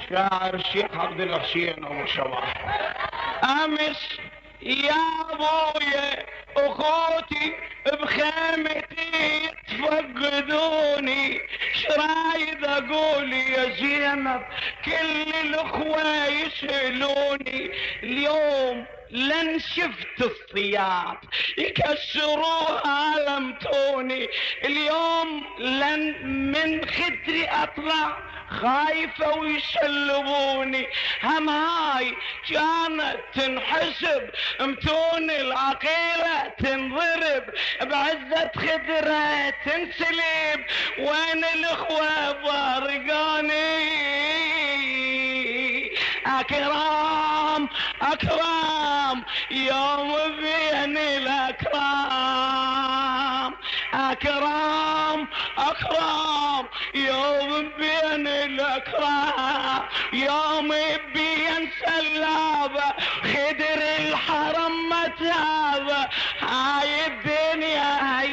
شاعر الشيخ عبد الحسين ابو شواح. امس يا ابويا اخوتي بخيمتي تفقدوني، شرايد اقول يا زينب كل الاخوة يسألوني، اليوم لن شفت الثياب يكسروها لمتوني، اليوم لن من خدري اطلع خايفة ويسلبوني، هم هاي كانت تنحسب متون العقيلة تنضرب، بعزة خدرة تنسلب، وين الاخوة فارقاني؟ اكرام اكرام يوم بين الاكرام، اكرام اكرام يوم بين الاكرام، يوم بين سلابة خدر الحرم متابة، هاي الدنيا هاي